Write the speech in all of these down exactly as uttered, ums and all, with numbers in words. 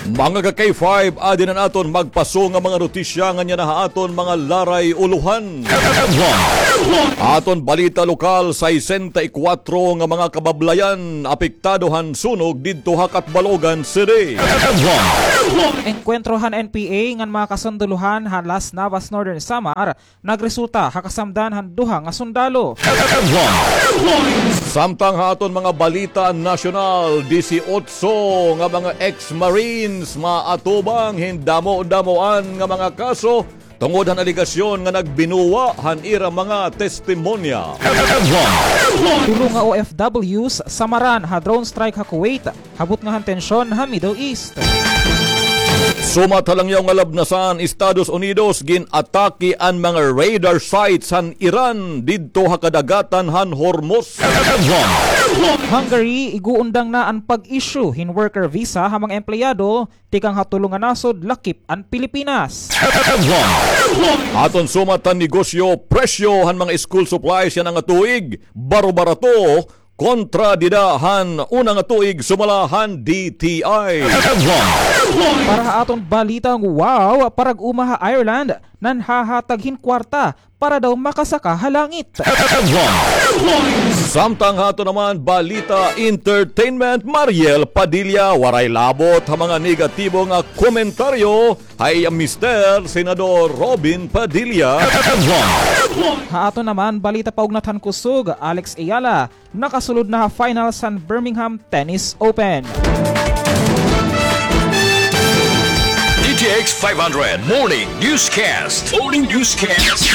Mga ka K five, adi na an aton magpaso nga mga notisya nganhi ha aton mga laray ulohan. Aton balita lokal, sesenta y kuwatro nga mga kabablayan apektado han sunog didto ha Catbalogan City. Engkwentro han N P A ngan mga kasundaluhan ha Las Navas, Northern Samar, nagresulta ha kasamdan han duha nga sundalo. Samtang ha aton mga balita nasyonal, disiotso nga mga ex-marines maatubang hin damo-damoan nga mga kaso tungod han alegasyon nga nagbinuwa han ira mga testimonya. Tulo nga O F Ws samaran ha drone strike ha Kuwait, habot nga han tensyon ha Middle East. Sumat ha langyaw nga labnasan, Estados Unidos, gin-atake an mga radar sites han Iran didto ha kadagatan han Hormuz. Hungary, ig-uundang na an pag-issue hin worker visa ha mga empleyado tikang ha tulo nga nasod lakip an Pilipinas. Aton sumat han negosyo, presyo han mga school supplies yana nga tuig baro-barato kontra dida han una nga tuig sumala han D T I. Para ha aton balitang wow, parag-uma ha Ireland, nanhahatag hin kwarta para daw makasaka ha langit. Samtang ha aton naman balita entertainment, Mariel Padilla, waray labot ha mga negatibo nga komentaryo ha iya mister, Senador Robin Padilla. Ha aton naman balita paugnat han kusog, Alex Ayala, nakasulod na ha finals han Birmingham Tennis Open. D T X five hundred Morning Newscast. Morning Newscast.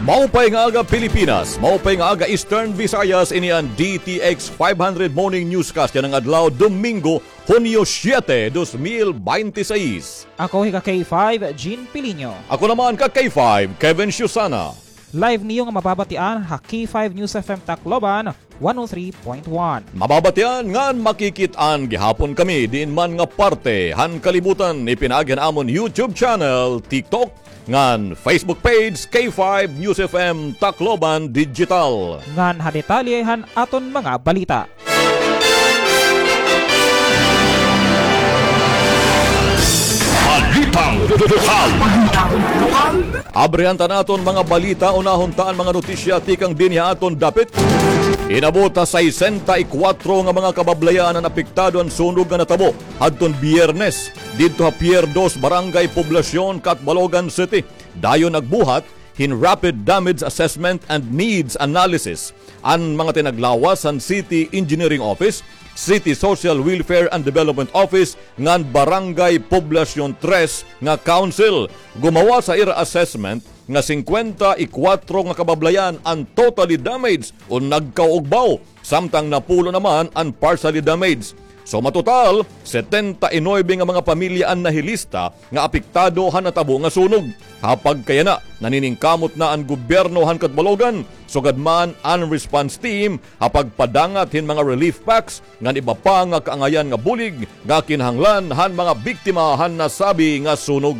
Maupay nga aga, Pilipinas. Maupay nga aga, Eastern Visayas. Ini an D T X five hundred Morning Newscast yana nga adlaw, Domingo, Hunyo siete, dos mil binte y seis. Ako hi ka K five, Jean Pilinho. Ako naman ka K five, Kevin Susana. Live niyo nga mababatian ha K five News F M Tacloban, one oh three point one. Mababatian ngan makikit-an gihapon kami diin man nga parte han kalibutan, ipinaagi han amon YouTube channel, TikTok, ngan Facebook page, K five News F M Tacloban Digital. Ngan ha detalye han aton mga balita. Balitang lokal. Abrihan ta an aton mga balita, unahon ta an mga notisya tikang dinhi ha aton dapit. Inabot ha sesenta y kuwatro nga mga kabablayan an apektado han sunog nga natabo hadton Biyernes didto ha Pier Dos, Barangay Poblacion, Catbalogan City. Dayon nagbuhat hin Rapid Damage Assessment and Needs Analysis an mga tinaglawas han City Engineering Office, City Social Welfare and Development Office, ngan Barangay Poblacion Tres nga Council. Gumawas ha ira assessment nga singkwenta y kuwatro nga kabablayan an totally damaged o nagkaugbaw, samtang napulo naman an partially damaged. So, matotal, setenta y nuebe nga mga pamilya an nahilista nga apektado han natabo nga sunog. Ha pagkayana, naniningkamot na an gobyerno han Catbalogan, sugad man an response team, ha pagpadangat hin mga relief packs ngan iba pa nga kaangayan nga bulig nga kinahanglan han mga biktima han nasabi nga sunog.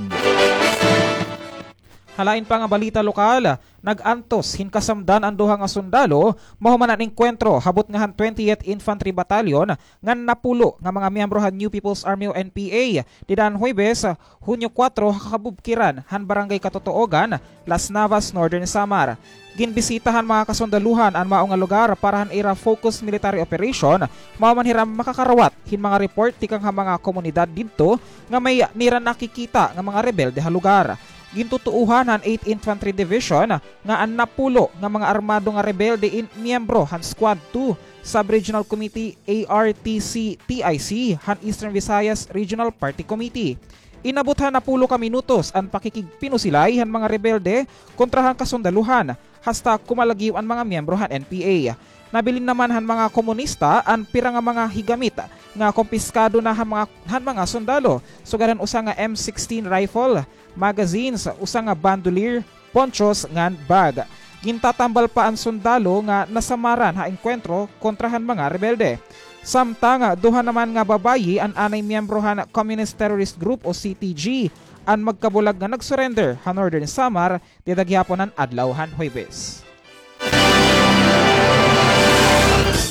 Ha lain pa nga balita lokal, nag-antos hin kasamdan an duha nga sundalo mahuman an engkwentro habot nga han twentieth Infantry Battalion ngan napulo nga mga miyembro han New People's Army o N P A dida han Huwebes, Hunyo kuwatro, ha kabubkiran han Barangay Katotogan, Las Navas, Northern Samar. Ginbisita han mga kasundalohan an mao nga lugar para han ira focus military operation, mao man hira makakarawat hin mga report tikang ha mga komunidad didto nga may nira nakikita nga mga rebelde ha lugar. Gintutuohan han eighth Infantry Division nga an napulo nga mga armado nga rebelde in miyembro han Squad two Sub-Regional Committee, A R T C T I C, han Eastern Visayas Regional Party Committee. Inabot ha napulo ka minutos an pakikigpinusilay han mga rebelde kontra han kasundalohan, hasta kumalagyo an mga miyembro han N P A. Nabilin naman han mga komunista an pira nga mga higamit nga kumpiskado na han mga, han mga sundalo, sugad han usa nga M sixteen rifle, magazines, usa nga bandolier, ponchos ngan bag. Gintatambal pa an sundalo nga nasamaran ha engkwentro kontra han mga rebelde. Samtang duha naman nga babayi an anay miyembro han Communist Terrorist Group o C T G an magkabulag nga nag-surrender ha Northern Samar dida gihapon han adlaw han Huwebes.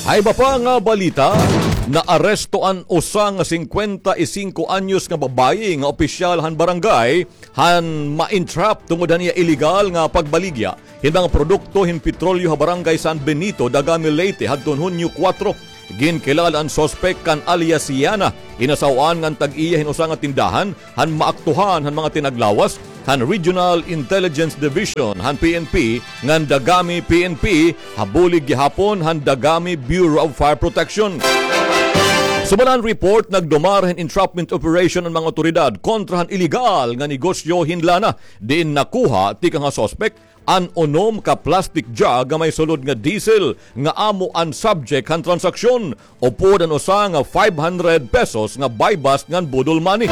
Ha iba pa nga balita, Naaresto an usa nga singkwenta y singko anyos nga babaye nga opisyal han barangay han ma-entrap tungod han iya iligal nga pagbaligya hin mga produkto hin petrolyo ha Barangay San Benito, Dagami, Leyte, hadton Hunyo kuwatro. Ginkilala an suspek kan alias Yana, inasaw-an ngan tag-iya hin usa nga tindahan han maaktuhan han mga tinaglawas han Regional Intelligence Division han P N P ngan Dagami P N P, ha bulig gihapon han Dagami Bureau of Fire Protection. Sumala han report, nagdumara hin entrapment operation an mga awtoridad kontra han iligal nga negosyo hin lana, diin nakuha tikang ha suspek an unom ka plastic jug nga may sulod nga diesel nga amo an subject han transaksyon, upod an usa nga five hundred pesos nga buy-bust ngan boodle money.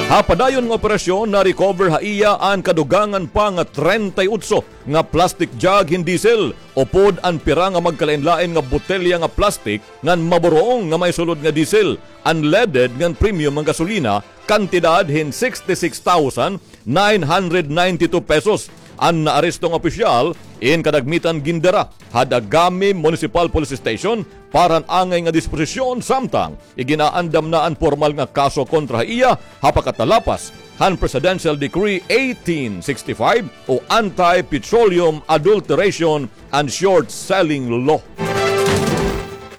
Ha padayon nga operasyon, na-recover ha iya an kadugangan pa nga treinta y ocho nga plastic jug hin diesel, upod an pira nga magkalainlain nga botelya nga plastic ngan maburong nga may sulod nga diesel, unleaded ngan premium nga gasolina, kantidad hin sixty-six thousand nine hundred ninety-two pesos. An naaresto nga opisyal in kadagmitan gindara ha Dagami Municipal Police Station para han angay nga disposisyon, samtang iginaandam na an pormal nga kaso kontra ha iya ha pagkatalapas han Presidential Decree eighteen sixty-five o Anti-Petroleum Adulteration and Short Selling Law.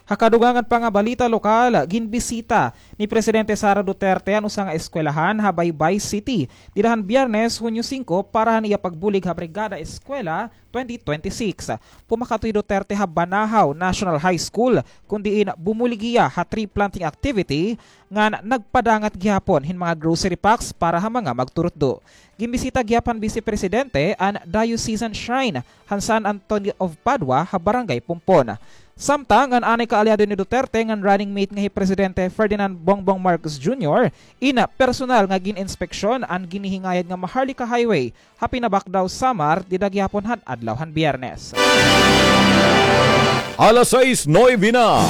Ha kadugangan pa nga balita lokal, ginbisita ni Presidente Sara Duterte an usa nga eskwelahan ha Baybay City dida han Biyernes, Hunyo singko, para han iya pagbulig ha Brigada Eskwela twenty twenty-six. Pumakadto hi Duterte ha Banahaw National High School, kun diin bumulig hiya ha tree planting activity ngan nagpadangat gihapon hin mga grocery packs para ha mga magturutdo. Ginbisita gihap han Vice Presidente an Diocesan Shrine han San Antonio of Padua ha Barangay Pompon. Samtang an anay kaalyado ni Duterte ngan running mate nga hi Presidente Ferdinand Bongbong Marcos Junior in personal nga gin-inspeksyon an ginhihingayad nga Maharlika Highway ha Pinabacdao, Samar, dida gihapon han adlaw han Biyernes. Alas sais nuebe na.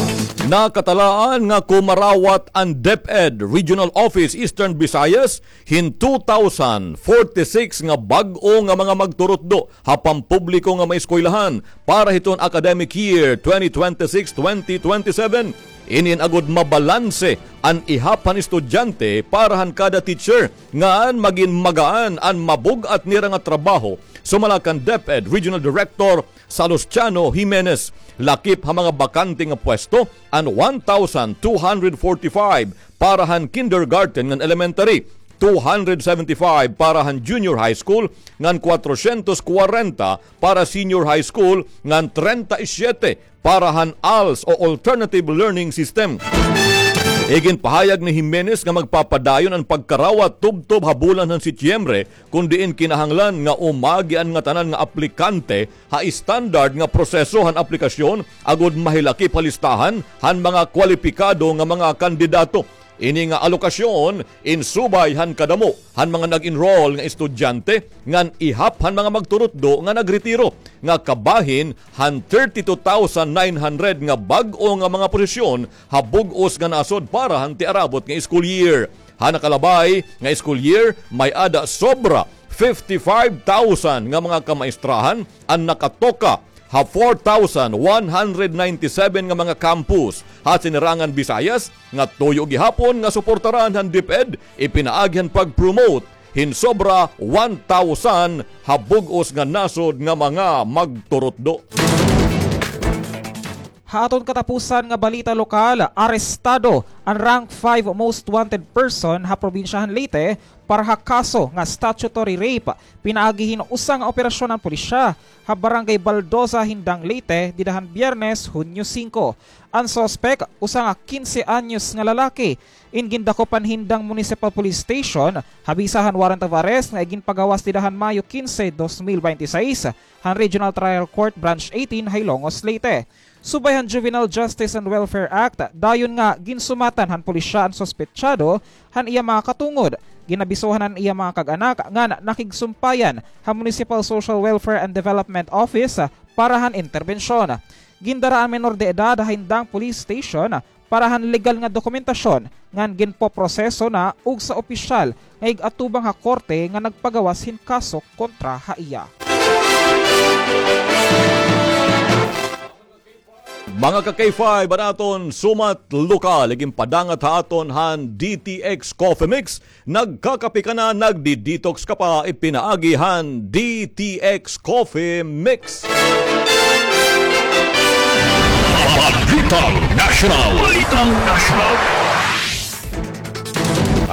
Nakatalaan nga kumarawat an DepEd Regional Office Eastern Visayas hin two thousand forty-six nga bag-o nga mga magturutdo ha pampubliko nga mga eskwelahan para hiton academic year twenty twenty-six twenty twenty-seven. Inin agod mabalanse an ihap han estudyante para han kada teacher, ngan magin magaan an mabug-at nira nga trabaho, sumala kan DepEd Regional Director Salustiano Jimenez. Lakip ha mga bakante nga pwesto an one thousand two hundred forty-five para han kindergarten ngan elementary, two hundred seventy-five para han junior high school, ngan kwatrosyentos kwarenta para senior high school, ngan treinta y siete para han ALS o Alternative Learning System. Iginpahayag ni Jimenez nga magpapadayon an pagkarawat tubtob ha bulan han Setyembre, kun diin kinahanglan nga umagi an ngatanan nga aplikante ha standard nga proseso han aplikasyon agod mahilakip ha listahan han mga kwalipikado nga mga kandidato. Ini nga alokasyon in subay han kadamo han mga nag-enroll nga estudyante ngan ihap han mga magturutdo nga nagretiro, nga kabahin han thirty-two thousand nine hundred nga bag-o nga mga posisyon ha bug-os nga nasod para han tiarabot nga school year. Ha nakalabay nga school year, may-ada sobra fifty-five thousand nga mga kamaestrahan an nakatoka ha four thousand one hundred ninety-seven nga mga campus ha sinirangan Visayas nga tuyo gihapon nga suportaran han DepEd, ipinaagi han pag-promote hin sobra one thousand ha bug-os nga nasod nga mga magturutdo. Ha aton katapusan nga balita lokal, arestado an rank five most wanted person ha probinsya han Leyte para ha kaso nga statutory rape, pinaagi hin usa nga operasyon han pulisya ha Barangay Baldoza, Jindang, Leyte, dida han Biyernes, Hunyo singko. An suspek, usa nga kinse anyos nga lalaki, in gindakop han Jindang Municipal Police Station ha bisa han warrant of arrest nga iginpagawas dida han Mayo kinse, dos mil bente y seis, han Regional Trial Court Branch eighteen ha Hilongos, Leyte. Subay han Juvenile Justice and Welfare Act, dayon nga ginsumatan han pulisya an suspetsado han iya mga katungod. Ginabisohan an iya mga kag-anak ngan nakigsumpayan ha Municipal Social Welfare and Development Office para han interbensyon. Gindara an menor de edad ha Jindang Police Station para han legal nga dokumentasyon ngan ginpoproseso na ugsa opisyal nga ig-atubang ha korte nga nagpagawas hin kaso kontra ha iya. Mga ka-K five, an aton sumat lokal, iginpadangat ha aton han D T X Coffee Mix. Nagkakape ka na, nagdi-detox ka pa, ipinaagi han D T X Coffee Mix. Balitang Nasyonal. Balitang Nasyonal.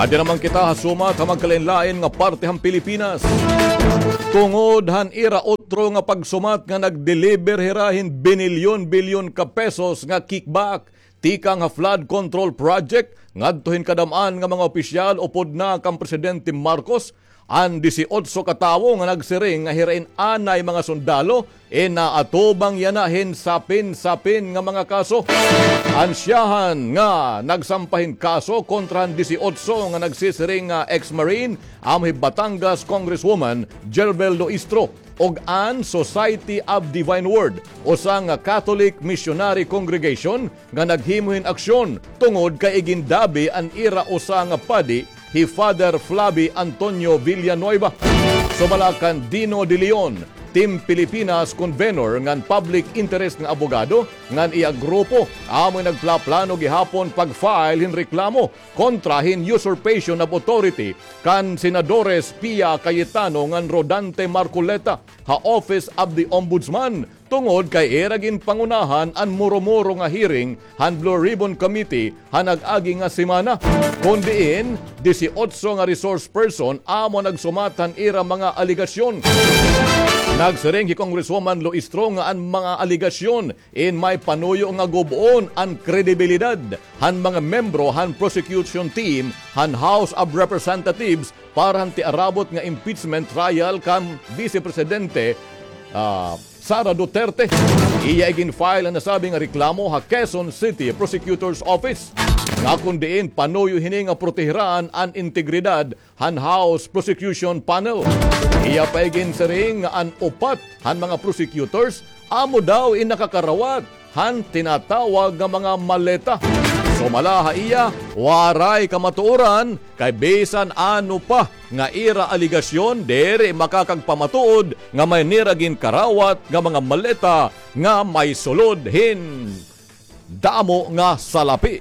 Adi naman kita ha sumat ha magkalain-lain nga parte han Pilipinas. Tungod han ira otro nga pagsumat nga nag-deliver hira hin binilyon-bilyon ka pesos nga kickback tikang ha flood control project ngadto hin kadam-an nga mga opisyal upod na kan Presidente Marcos, an disiotso ka tawo nga nagsiring nga hira in anay mga sundalo in naatubang yana hin sapin-sapin nga mga kaso. An siyahan nga nagsampa hin kaso kontra han disiotso nga nagsisiring nga ex-marine, amo hi Batangas Congresswoman Jerbel Loistro, ug an Society of Divine Word, usa nga Catholic missionary congregation nga naghimo hin aksyon tungod kay igindabi an ira usa nga padi, hi Father Flavi Antonio Villanueva. Sumala kan Dino de Leon, Team Pilipinas convenor ngan public interest nga abogado ngan iya grupo, amoy nagplaplano gihapon pag-file hin reklamo kontra hin usurpation of authority kan Senadores Pia Cayetano ngan Rodante Marcoleta ha Office of the Ombudsman, tungod kay ira ginpangunahan an muro-muro nga hearing han Blue Ribbon Committee ha nag-agi nga semana, kon diin disiotso nga resource person amo nagsumat han ira mga alegasyon. Nagsiring hi Congresswoman Loistro nga an mga alegasyon in may panuyo nga gub-on an kredibilidad han mga membro han prosecution team han House of Representatives para han tiarabot nga impeachment trial kan Vice Presidente, ah, Sara Duterte. Iya igin-file an nasabi nga reklamo ha Quezon City Prosecutor's Office, nga kon diin panuyo hini nga protehiran an integridad han House Prosecution Panel. Iya pa iginsiring nga an upat han mga prosecutors amo daw in nakakarawat han tinatawag nga mga maleta. Sumala ha iya, waray kamatuoran kay bisan ano pa nga ira alegasyon, diri makakagpamatuod nga may nira ginkarawat nga mga maleta nga may sulod hin damo nga salapi.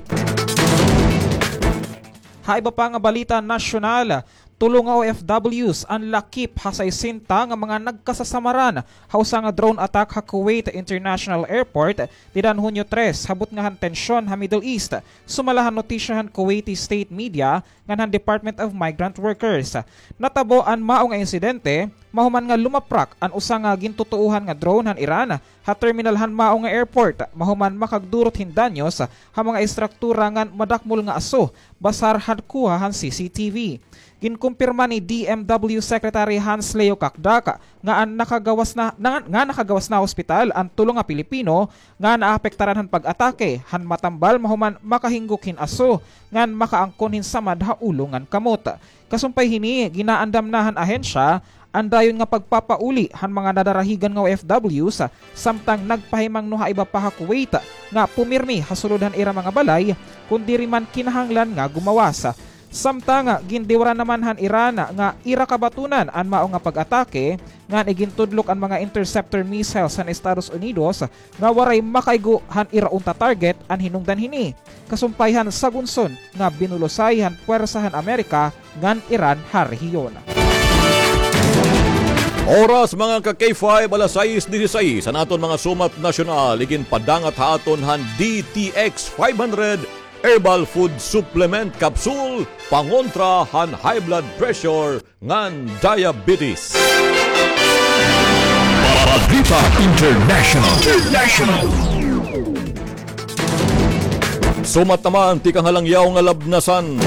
Ha iba pa nga balita nasyonal, tulo nga O F Ws an lakip ha sesenta nga mga nagkasasamaran ha usa nga drone attack ha Kuwait International Airport dida han Hunyo tres, ha butnga han tensyon ha Middle East. Sumala han notisya han Kuwaiti state media ngan han Department of Migrant Workers. Natabo an mao nga insidente mahuman nga lumaprak an usa nga gintutuohan nga drone han Iran ha terminal han mao nga airport, mahuman makagdurot hin danyos ha mga estruktura ngan madakmol nga aso, basar han kuha han C C T V. Ginkumpirma ni D M W Secretary Hans Leo Cacdac nga an nakagawas na, na, nga nakagawas na ha ospital an tulo nga Pilipino nga naapektaran han pag-atake han matambal mahuman makahinggok hin aso ngan makaangkon hin samad ha ulo ngan kamot. Kasumpay hini, ginaandam na han ahensya an dayon nga pagpapauli han mga nadarahigan nga O F Ws, samtang nagpahimangno ha iba pa ha Kuwait nga pumirmi ha sulod han ira mga balay, kon diri man kinahanglan nga gumawas. Samtang gindiwaran naman han Iran nga ira kabatunan an mao nga pag-atake, ngan igintudlok an mga interceptor missiles han Estados Unidos nga waray makaigo han ira unta target an hinungdan hini, kasumpay han sagunson nga binulusay han puwersa han Amerika ngan Iran ha rehiyon. Oras, mga ka-K five, alas sais disisais. An aton mga sumat nasyonal iginpadangat ha aton han D T X five hundred Herbal Food Supplement Capsule, pangontra han high blood pressure ngan diabetes. Balita International. International. Sumat naman tikang ha langyaw nga labnasan.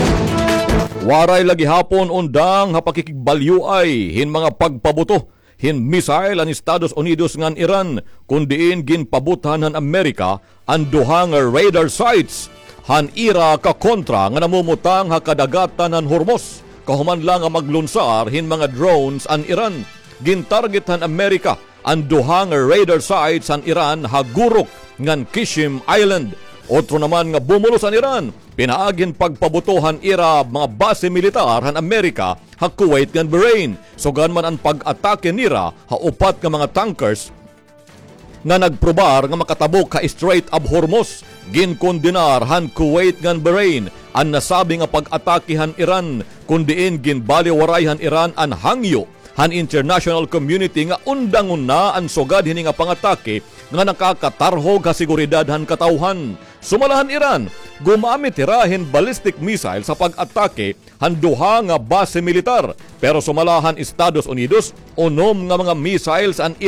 Waray la gihapon undang ha pakikigbalyoay hin mga pagpabuto hin missile an Estados Unidos ngan Iran, kon diin ginpabuthan han Amerika an duha nga radar sites han ira kakontra nga namumutang ha kadagatan han Hormuz, kahuman la nga maglunsar hin mga drones an Iran. Gintarget han Amerika an duha nga radar sites han Iran ha Guruk ngan Qeshm Island. Otro naman nga bumulos an Iran pinaagi hin pagpabuto han ira mga base militar han Amerika ha Kuwait ngan Bahrain. Sugad man an pag-atake nira ha upat nga mga tankers nga nagprobar nga makatabok ha Strait of Hormuz. Ginkondenar han Kuwait ngan Bahrain an nasabi nga pag-atake han Iran, kon diin ginbaliwaray han Iran an hangyo han international community nga undangon na an sugad hini nga pangatake nga nakakatarhog ha seguridad han katawhan. Sumala han Iran, gumamit hira hin ballistic missile sa pag-atake han duha nga base militar. Pero sumala han Estados Unidos, unom nga mga missiles an